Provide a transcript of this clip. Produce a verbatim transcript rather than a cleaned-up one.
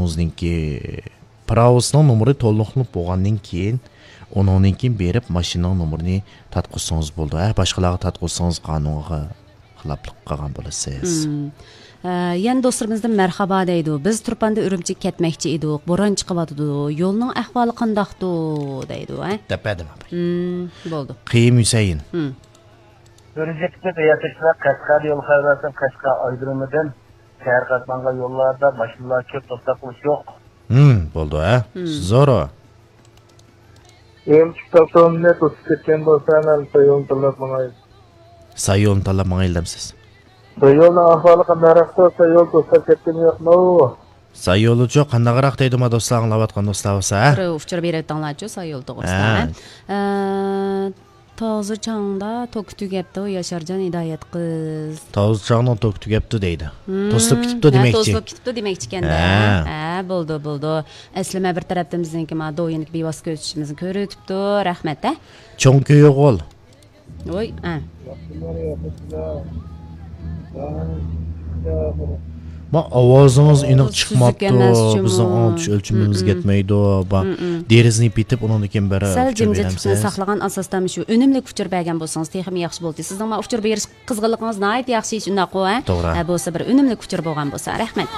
ئۆزىنىڭكى پىراۋىسىنىڭ نومۇرى تولۇقلىنىپ بولغاندىن كېيىن، ئۇنىڭدىن كېيىن بېرىپ ماشىنىنىڭ نومۇرىنى تارتقۇزسىڭىز بولىدۇ. ھە، باشقىلارغا تارتقۇزسىڭىز قانۇنغا خىلاپلىق قىلغان بولىسىز. مم. ئە، يەنە دوستلىرىمىزدىن مەرھابا دەيدۇ. بىز تۇرپاندا ئۈرۈمچىگە كەتمەكچى ئىدۇق. بوران چىقىۋاتىدۇ. يولنىڭ ئەھۋالى قانداقتۇ؟ دەيدۇ، ھە؟ دەپ بەردىم، ئاپا. مم، بولدى. قېيۇم ھۈسەيىن. مم. ئۈرۈمچىگە كېتىپ ياتىشىدا قەشقەردە يول خەۋەر بەرسەم، قەشقەر ئايرودرومىدىن شەھەر قاتنىغان يوللاردا ماشىنىلار كۆپ، توختاپ قېلىش يوق. ھىم، بولدى، ھە؟ ھىم. زورو. ئېمچىك توختامنى توسۇپ كەتكەن بولسا، مەن سايونى تاللاپ ماڭاي. سايونى تاللاپ ماڭايلى دەمسىز؟ سايوننىڭ ئەھۋالى قانداقراقتۇ؟ سايون توسۇپ كەتكىنى يوقمۇ؟ سايونىچۇ قانداقراق دەيدۇ، ما دوستلار، ئاڭلاۋاتقان دوستلار بولسا، ھە؟ بىر ئۇچۇر بېرىۋېتىڭلارچۇ، سايون توغرىسىدا، ھە. ھە؟ ئە، تازا چاڭدا توكى تۈگەپتۇ، ياشارجان ھىدايەت قىز. تازا چاڭنىڭ توكى تۈگەپتۇ دەيدۇ. ھىم، توسۇلۇپ كېتىپتۇ ھە، دېمەكچى. توسۇلۇپ كېتىپتۇ دېمەكچىكەن-دە. ھە. ھە، بولدى، بولدى. ئەسلىمە بىر تەرەپتىن بىزنىڭكى ما دويىنىكى بىۋاسىتە كۆزىتىشىمىزنى كۆرۈۋېتىپتۇ. رەھمەت، ھە. چوڭ كۆيۈغۇل. ۋوي، ھە. ما ئاۋازىڭىز ئېنىق ئاۋاز سۈزۈك چىقماپتۇ. ئەمەس جۇمۇ. بىزنىڭ ئاڭلىتىش ئۆلچىمىمىزگە يەتمەيدۇ. با-، دېرىزىنى پېتىپ، ئۇنىڭدىن كېيىن بىر سەل ئۇچۇر جىمجىتلىقنى بېرەمسىز؟ ساقلىغان ئاساستا مۇشۇ ئۈنۈملۈك ئۇچۇر بەرگەن بولسىڭىز تېخىمۇ ياخشى بولدى. سىزنىڭ ما ئۇچۇر بېرىش قىزغىنلىقىڭىز ناھايىتى ياخشى، شۇنداققۇ، ھە؟ توغرا. ھە، بولسا بىر ئۈنۈملۈك ئۇچۇر بولغان بولسا. رەھمەت.